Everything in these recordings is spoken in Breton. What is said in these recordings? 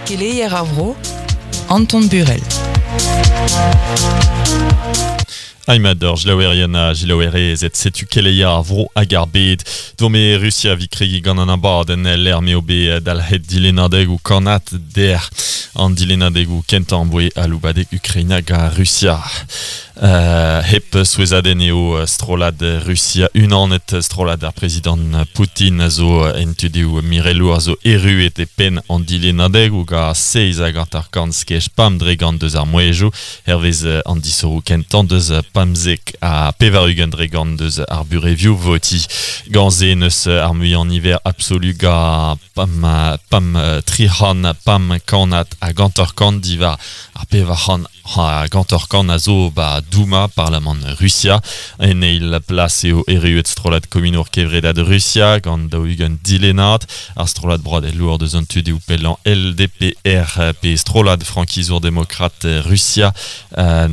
Keleier ar vro, Anton Burel. Aimat ur jilaouerien ha jilaouerezed, setu keleier ar vro hag ar bed. Dome Rusia vi kregi gant an abadenn lec'h m'eo bet dalc'het dilennadegoù kannad dec'h. An dilennadegoù kentañ boe aloubadeg Ukraina gant Rusia. Hep souezhadenn eo strollad Rusia unanet, strollad ar prezidant Poutin a zo en tu dezhoù mirelour a zo erruet e penn an dilennadegoù gant 57 skej pemp dre gant deus ar mouezhioù hervez an disoc'hoù kentañ deus 95% deus ar burevioù votiñ. Gant se n'eus ar muiañ niver absolu gant pemp pemp 300 pemp kannad hag 50 diwar ar 400 Ha 50 a zo ba Douma, parlamant Rusia. En eil plas eo erruet strollad komunour kevredad Rusia gant 40 dilennad. Ar strollad broadelour deus an tu dezhoù pellañ LDPR pe strollad frankizour demokrat Rusia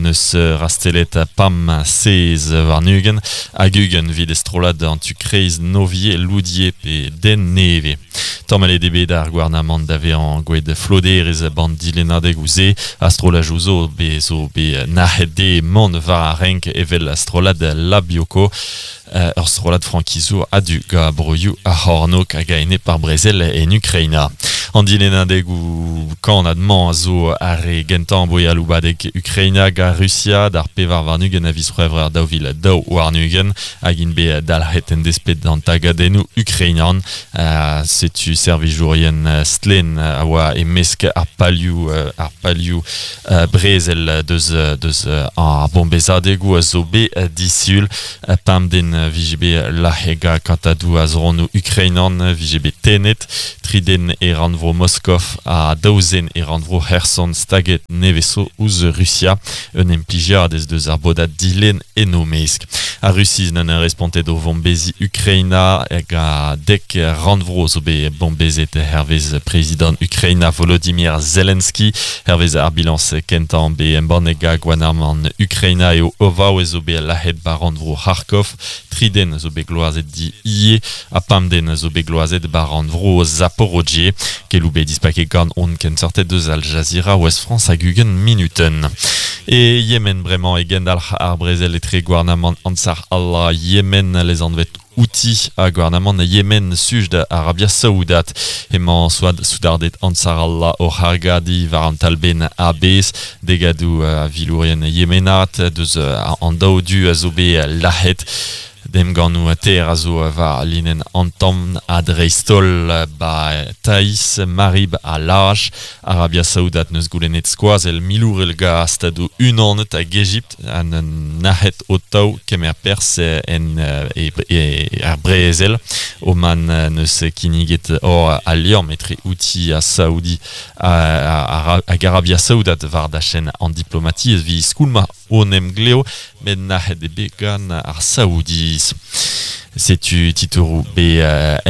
neus rastellet pam sez warn-ugent hag 20 evit strollad an tu kreiz Novie Loudie pe Den Nevez. Tamallet eo bet ar gouarnamant da vezañ gwelet floderezh ban dilennadegoù-se ha strollajoù zo bet zo bet nac'het dezhe mont war ar renk evel strollad Labioko, ur strollad frankizour a-du gant broioù ar c'hornôg hag a-enep ar brezel en Ukraina. An dilennadegoù kannad-mañ a zo ar re gentañ boe aloubadeg Ukraina gant Rusia d'ar 24 a viz C'hwevrer 2022 hag int bet dalc'het en desped d'an tagadennoù ukrainian. Setu servijourien stlenn a oa e-mesk ar palioù ar palioù brezel deus deus ar bombezadegoù a zo bet disul. Pemp den vije bet lazhet gant kantadoù a zronoù ukrainan vije bet tennet. Tri den e rannvro Moskov ha daou zen e rannvro C'herson staget nevez zo ouzh Rusia. Un implijiadez deus ar bodad dilenn en o mesk. Ar Rusiz n'en respontet o vombeziñ Ukraina hag a dek rannvro zo bet bombezet hervez prezidant Ukraina Volodymyr Zelensky. Hervez ar bilañs kentañ bet embannet gant gouarnamant Ukraina eo o vaouez zo bet lazhet ba rannvro Kharkov. Tri den zo bet gloazet di ivez ha pemp den zo bet gloazet ba rannvro Zaporozhye. Keloù bet dispaket gant hon kenseurted eus Al Jazeera Ouest France hag 20 minutenn. E Yemen bremañ e gendalc'h ar brezel etre gouarnamant Ansar Allah Yemen lesanvet Houthi ha gouarnamant Yemen suj da Arabia Saoudat. Emañ soudarded Ansar Allah oc'h argadiñ war an talbenn a-bezh. Degadoù a vilourien yemenat deus an daou du a zo bet lazhet. Emgannoù taer a zo war linenn an tamm ha dreist-holl ba Taiz, Marib ha Laj. Arabia Saoudat n'eus goulennet skoazell milourel gant Stadoù Unanet hag Egipt ha nac'het o-taou kemer perzh en e, e, er brezel. Oman n'eus kinniget hor al liamm etre Houthi ha Saoudi hag Arabia Saoudat war dachenn an diplomatiezh evit skoulmañ hon emglev met nac'het eo bet gant ar Saoudiz. Setu titouroù bet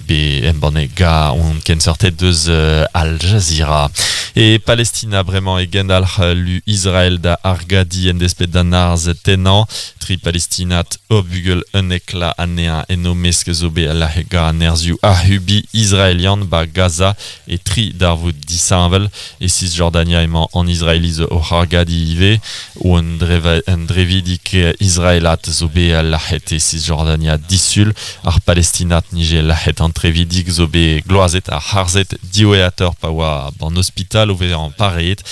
bet embannet gant hon kenseurted deus Al Jazeera. E Palestina bremañ e gendalc'h lu Israel da argadiñ en desped d'an arz tennañ. Tri Palestinad ur bugel 11 la anezhañ en o mesk zo bet lazhet gant an nerzhioù ac'hubiñ israelian 'ba Gaza e tri darvoud disheñvel. E Cisjordania emañ an Israeliz oc'h argadiñ ivez. Un drevidig israelat zo bet lazhet e Cisjordania disul. Ar Palestinad nije lazhet an trevidig zo bet gloazet ha harzet diwezhatoc'h pa oa b'an ospital o vezañ pareet.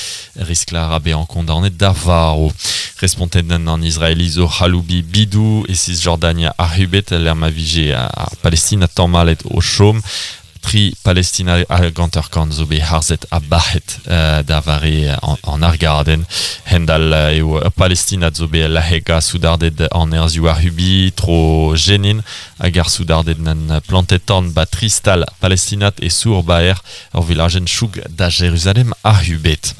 Riskl a ra bezañ kondaonet da varv. Respontet an Israeliz o c'haloubiñ bidoù e Cisjordania ac'hubet lec'h ma vije ar Palestinad tamallet o chom. Tri Palestina hag 50 zo bet harzet ha bac'het da vare an argadenn. Hend-all eo ur Palestinad zo bet lazhet gant soudarded an nerzhioù ac'hubiñ tro Jenin hag ar soudarded n'en plantet tan ba tri stal palestinat e Sour-Baer, ur vilajenn choug da Jeruzalem ac'hubet.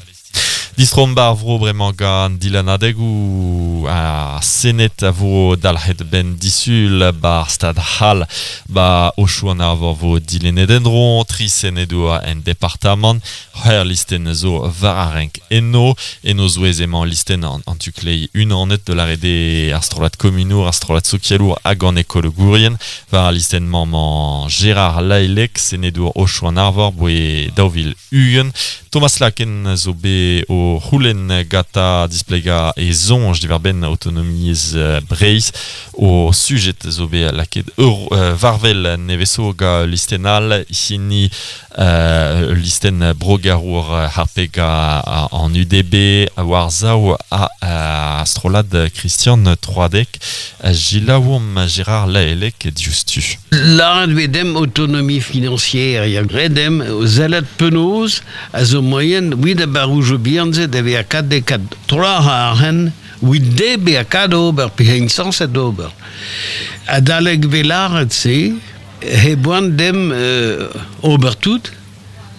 Distrom bar vro bremañ gant dilennadegoù ar Sened a vo dalc'het ben disul bar stad c'hall ba Aochou an Arvor vo dilennet en-dro tri senedour en departamant c'hwec'h listenn zo war ar renk eno en o zouez emañ listenn an, an tu-kleiz unanet de la rede ar strollad komunour ar strollad sokialour hag an ekologourien war ar listenn-mañ emañ Gérard Lahellec senedour Aochou an Arvor boe 2020 Thomas Laken zo bet o c'houlenn gantañ displegañ e soñj diwar-benn autonomiezh Breizh o sujet zo bet lakaet ur war wel nevez zo gant listenn all hini listenn brogarour harpet gant an UDB war sav a strollad Christian Troadec Selaouomp Gérard Lahellec diouzhtu. Lâret vez demp autonomie financière, ya graet demp sellet penaos a zo moaien 'vit ar barroujoù bihan-se da vezañ kat de kat tro arc'hant 'vit de bezañ kat ober pe hein sañset ober. Adalek vez lâret se, he boan demp ober tout,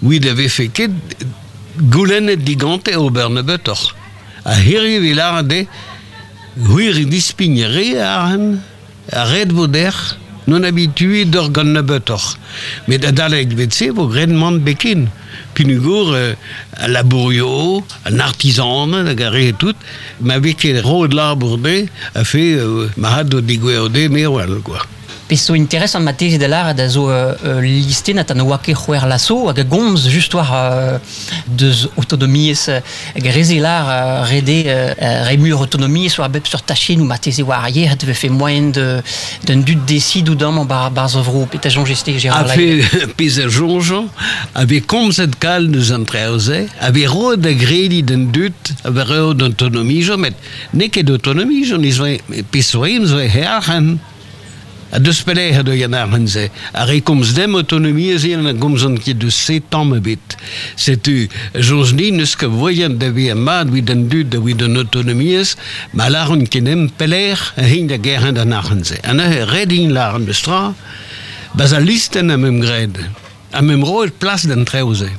'vit a vefe ket goulennet digante ober nebeutoc'h. Ha hiriv vez lâret de c'hwi dispign re arc'hant, a ret vo dec'h non habitué d'ur gant nebeutoc'h. Met adalek vet se vo graet mann beken. Peogwir al labourio, an artisan hag ar re tout, ma vez ket roet labour de, a fe ma had o degouezho de merwel, quoi. Pezh zo interesant marteze da lâret a zo listennad ha ne oa ket c'hwec'h vloaz zo hag a gomz just war deus autonomiezh hag reze lâr rede remur autonomiezh war bep seurt tachennoù marteze war ar yec'hed vefe moaien de d'un dud desidout amañ bar barzh ar vro petra soñjez-te Gérard A fe pezh a soñjañ, a vez komzet kalz deus an traoù-se, a vez roet da grediñ d'an dud, a vez roet autonomiezh, met n'eo ket autonomiezh, on zo pezh zo zo arc'hant. Ha deus pelec'h eo an arc'hant-se. Ar re komz dem autonomiezh a gomzont ket deus se tamm ebet. Setu, soñj din n'eus ket voaien da vezañ mat evit an dud evit an autonomiezh, ma lâront ket dem pelec'h int da gerc'hent an arc'hant-se. Ha neuze ret int lâret meus tra, ba'z al listenn am eus graet. Am eus roet plas d'an traoù-se.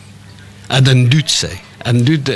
Ha d'an dud-se. An dud